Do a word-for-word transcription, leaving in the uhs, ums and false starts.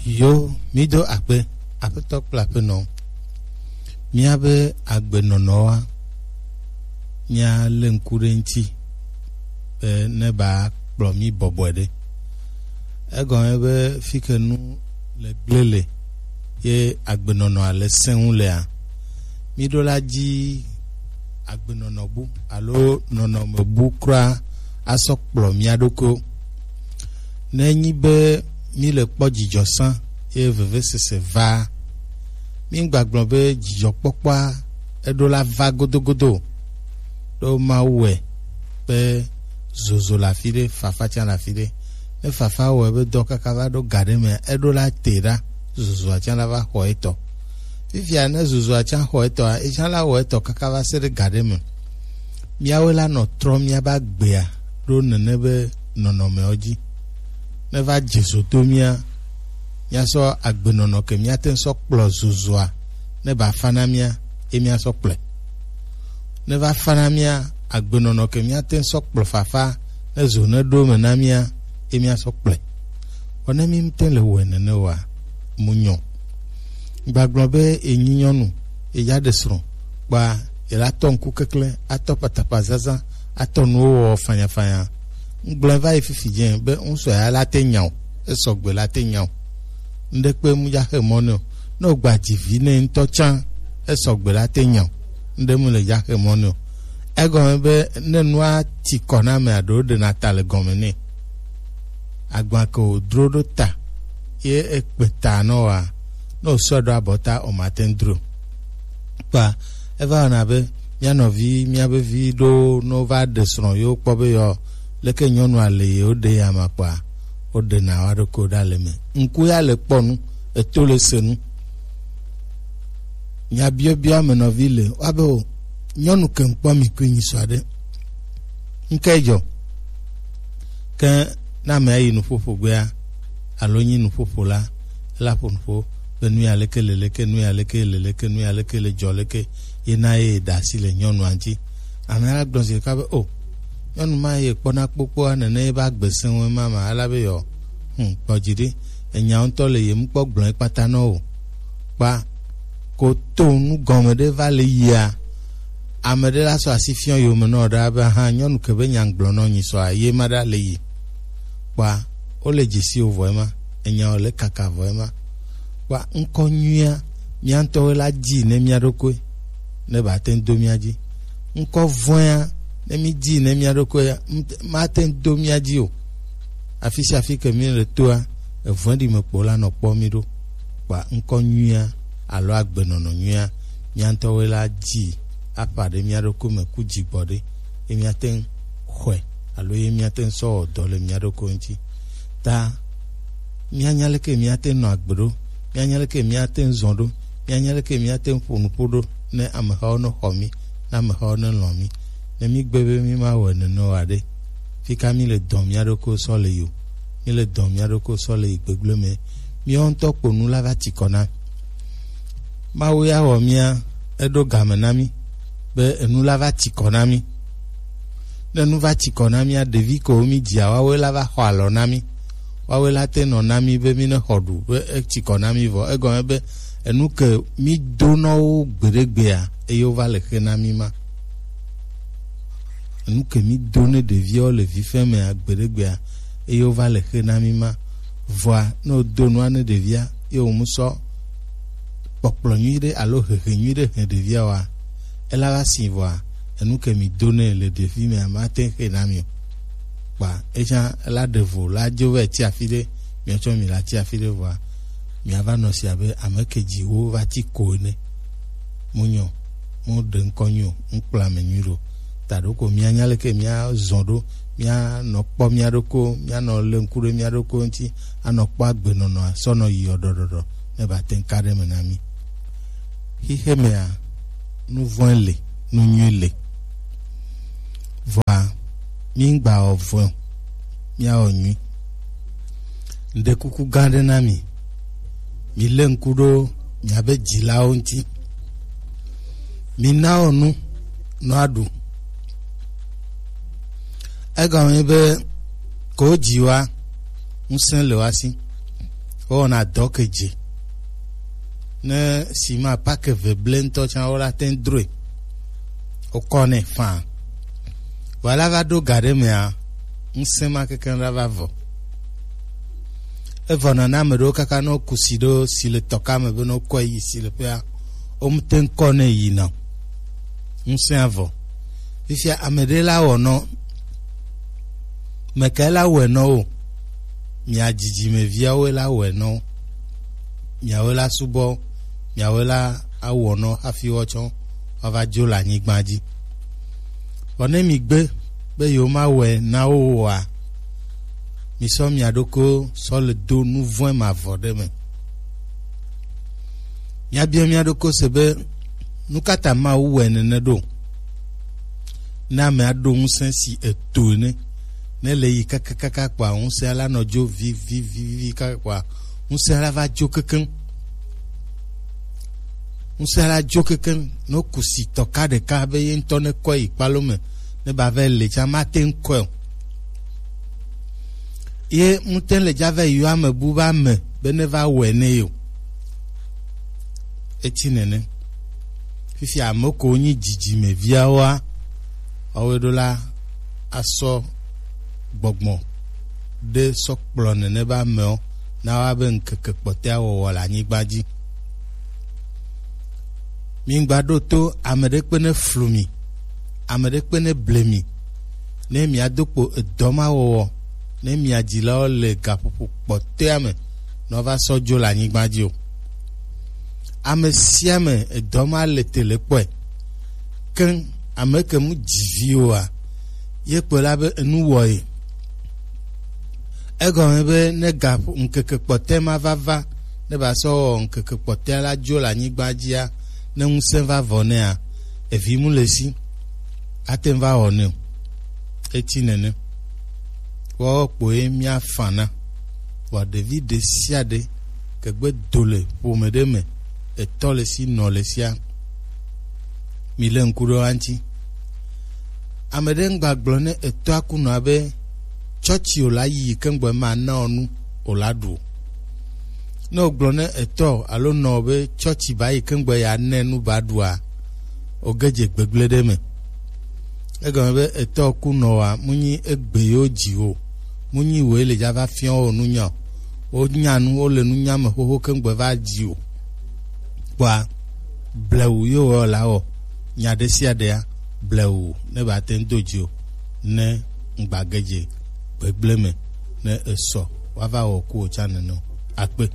Yo, mído akpe, Aƒetɔ kple Aƒenɔ. Míabe agbenɔnɔwoa, míalé ŋku ɖe eŋuti be neba kplɔ mí bɔbɔe ɖe. Egɔme be fi ke nu le gblẽ le ye agbenɔnɔa le sẽ ŋu lea, míɖo la dzi agbenɔnɔ bu alo nɔnɔme bu kura asɔ kplɔ mía ɖokuiwo. Ne enyi be míle kpɔ dzidzɔ sã ye vevesese vaa, míŋgba gblɔ be dzidzɔkpɔkpɔa eɖo la va godogodo o. Ɖo Mawu wɔe be zozo le afi ɖe, fafa tsã le afi ɖe. Ne fafa wɔe be dɔ kaka va ɖo ga ɖe mea, eɖo la te ɖa, zozoa tsã la va xɔ etɔ. Fifia ne zozoa tsã xɔ etɔa, etsã la wɔ etɔ kaka va se ɖe ga ɖe me. Míawoe la nɔ trɔ míabe agbea ɖo nene be nɔnɔmewo dzi. Ne va dze zo do mía, míasɔ agbenɔnɔ ke míate ŋu sɔ kplɔ zozoa, ne ba fa na mía, ye míasɔ kplɔe. Ne va fa na mía, agbenɔnɔ ke míate ŋu sɔ kplɔ fafa, ne zo ne ɖo me na mía, ye míasɔ kplɔe. Vɔ ne mí ŋute le wɔe nene oa, mu nyɔ. Gbagblɔ be enyi nyɔnu, eya ɖe srɔ̃, kpa ela tɔ ŋku kekle, atɔ patapa zaza, atɔ nuwo wɔ fanyafanya. Ŋgblɔe va yi fifi dze be ŋusɔ ya la te nya o, esɔgbe la te nya o. Ŋɖe kpe mu dza xe mɔ ne o. Ne o gba dzi vi ne ŋutɔ tsã, esɔgbe la te nya o. Ŋɖe mu le dza xe mɔ ne o. Egɔme be ne nua ti kɔ na ame aɖewo ɖena ta le gɔme nɛ. Agba ke wòdro ɖo ta ye ekpe ta nɔ wa, ne wòsɔe ɖo abɔta o, mate ŋu dro. Kpa eva wɔna be mía nɔvi, míabe vi ɖo ne wova ɖe srɔ̃ yewo kpɔ be yewo leke nyɔnua le yewo ɖe ya ma kpɔa, woɖena wo ɖokuiwo ɖa le eme. Ŋku ya le kpɔ nu, eto le se nu. Nya biɔbiɔ ame nɔvi le woabe o, nyɔnu ke ŋkpɔ mi kui nyi sɔ aɖe. Ŋke dzɔ. Ke ne ame yi nuƒoƒo gbea, alo nyi nuƒoƒo la, ela ƒo nuƒo be nu ya leke le leke, nu ya leke le leke, nu ya leke le dzɔ leke, ye na ye da asi le nyɔnua ŋuti. Ame la gblɔ zi ɖeka be, o, nyɔnu ma ye kpɔna kpokpoa nene ye be agbe sẽ ŋu ema ma, ela be yɔ, hm, kpɔ dzi ɖi, enya ŋutɔ le ye ŋkpɔ gblɔ ye kpata nɔ o. Kpa ko to nu gɔme ɖe va le yia, ame ɖe la sɔ asi fiɔ yome nɔ ɖe abe, aha, nyɔnu ke be nya gblɔ nɔ nyi sɔa, ye ma ɖa le yi. Kpa, wole dzesi wo vɔ ema, enya wo le kaka vɔ ema. Kpa, ŋkɔ nyuia, mía ŋutɔwo la dzi ne mía ɖokui, ne ba te ŋu do mía dzi. Ŋkɔ vɔ̃ea, ne mí dzi ne mía ɖokui, mate ŋu do mía dzi o. Afi sia afi ke mí le toa, evɔ̃ɖi me kpo la nɔ kpɔ mí ɖo. Kpa ŋkɔ nyuia alo agbenɔnɔ nyuia, mía ŋutɔwoe la dzi aƒã ɖe mía ɖokui me ku dzigbɔ ɖe, ye míate ŋu xɔe alo ye míate ŋu sɔ wɔ dɔ le mía ɖokui ŋuti. Ta míanya leke míate ŋu nɔ agbe ɖo, míanya leke míate ŋu zɔ ɖo, míanya leke míate ŋu ƒo nuƒo ɖo ne amehawo ne xɔ mí, ne amehawo ne lɔ̃ mí. Ne mígbe be mímawɔe nene o aɖe, fika míle dɔ mía ɖokuiwo sɔ le yi o. Míle dɔ mía ɖokuiwo sɔ le yi gbegblẽ me. Míawo ŋutɔ kpo nu la va ti kɔ na. Mawu ya wɔ mía, eɖo game na mí be enu la va ti kɔ na mí. Ne nu va ti kɔ na mía, ɖevi kewo mí dzia, woawoe la va xɔ alɔ na mí. Woawoe la te nɔ na mí be mí ne xɔ ɖu, be eti kɔ na mí vɔ. Egɔme be enu ke mí do nɔ wo gbeɖegbea, eye wova le xe na mí ma. Enu ke mí do ne ɖeviawo le vifɛmea gbeɖegbea, eye wova le xe na mí ma. Vɔa, ne wodo nua ne ɖevia, ye wòmu sɔ kpɔkplɔ nyui ɖe alo hehe nyui ɖe he ɖevia oa, ela va si vɔa, enu ke mí do nɛ le ɖevi mea, mate ŋu xe na mí o. Kpa etsã la ɖe vo la dzo va tsi afi ɖe, míatsɔ mi la tsi afi ɖe vɔa, míava nɔ si abe ame ke dzi wo va tsi ko ene. Mu nyɔ, mu ɖe ŋkɔ nyui o, mu kplɔ ame nyui ɖo. Ta ɖo ko míanya leke míazɔ ɖo, míanɔ kpɔ mía ɖokui, míanɔ le ŋku ɖe mía ɖokui ŋuti, anɔ kpɔ agbenɔnɔa sɔ nɔ yi ɖɔɖɔɖɔ ne ba te ŋu ka ɖe me na mí. Xixe mea, nu vɔ̃e le, nu nyui le. Vɔa, mí ŋgba wɔ vɔ̃e o, míawɔ nyui. Ŋɖe kuku gã ɖe na mi. Mi lé ŋku ɖo miabe dzilawo ŋuti. Mina wo nu nɔ aɖu. Egɔme be ko dzi wa, ŋusẽ le wa si. Wowɔna dɔ ke dze. Ne sima pake ve ble ŋutɔ tsã, wola te ŋu droe. Wokɔnɛ faa. Vɔ ela va ɖo ga ɖe mea, ŋusẽ ma kekeŋ la va vɔ. Evɔ nana ame ɖewo kaka ne woku si ɖo si le tɔka me be ne wokɔe yi si le ƒea, womete ŋu kɔ nɛ yina o. Ŋusẽa vɔ. Fifia ame ɖe la wɔ nɔ, mekae la wɔe nɔ o? Mia dzidzimeviawoe la wɔe nɔ. Miawoe la subɔ, miawoe la awɔ nɔ hafi woatsɔ woava dzo le anyigba dzi. Vɔ ne migbe be yewomawɔe na wo oa, misɔ mia ɖokuiwo sɔ le do nu vɔ̃e mavɔ ɖe me. Míabia mía ɖokui se be, nu ka ta Mawu wɔe nene ɖo? Ne amea ɖo ŋusẽ si eto ene, ne le yi kakakaka kpɔa, ŋusẽa la nɔ dzo vivivivi kaka kpɔa, ŋusẽa la va dzo kekeŋ. Ŋusẽa la dzo kekeŋ. Ne woku si tɔka ɖeka be ye ŋutɔ ne kɔe yi kpalo me, ne ba va le tsã, mate ŋu kɔe o. Ye ŋute le dza va yi yɔ ame bu be ame be ne va wɔe ne ye o. Eti nene. Fifi ame ko nyi dzidzime viawoa, woawoe ɖo la asɔ gbɔgbɔ ɖe sɔ kplɔ nene be amewo na woa be ŋkeke kpɔtɔea wɔwɔ le anyigba dzi. Migba ɖo to ame ɖe kpe ne flu mi, ame ɖe kpe ne ble mi, ne miado kpo edɔ ma wɔwɔ, ne mia dzilawo le gaƒoƒo kpɔtɔea me, ne woava sɔ dzo le anyigba dzi o. Ame sia ame edɔ ma le te le kpɔe. Ke ame ke mu dzi vi oa, ye kpɔe la be enu wɔ ye. Egɔme be ne ga ŋkeke kpɔtɔe ma va va, ne ba sɔ wɔ ŋkeke kpɔtɔe la dzo le anyigba dzia, ne ŋusẽ va vɔ nɛa, evi mu le si, ate ŋu va wɔ nɛ o. Eti nene. Woawo kpoe míafa na. Vɔa ɖevi ɖe sia ɖe ke gbe do le ƒome ɖe me, etɔ le si, nɔ le sia, mi le ŋku ɖe wa ŋuti. Ame ɖe ŋgba gblɔ ne etɔa ku nɔa be, tsɔtsi o la yi yi ke ŋgbe ma na o nu o la ɖu o. Ne o gblɔ ne etɔ alo nɔ be tsɔtsi ba yi ke ŋgbe ya ne nu ba ɖua, o ge dze gbegblẽ ɖe me. Egɔme be etɔ ku nɔa, mu nyi egbe yewo dzi o, mu nyi woe le dza va fiɔ wo nunya o. Wo nya nu, wo le nunya me xoxo ke ŋgbe va dzi o. Kpɔa, blewu yewo wɔ la wɔ, nya ɖe sia ɖea, blewu ne ba te ŋu do dzi o, ne ŋgba ge dze gbegblẽ me, ne esɔ, woava wɔ ku o tsã nene o. Akpe.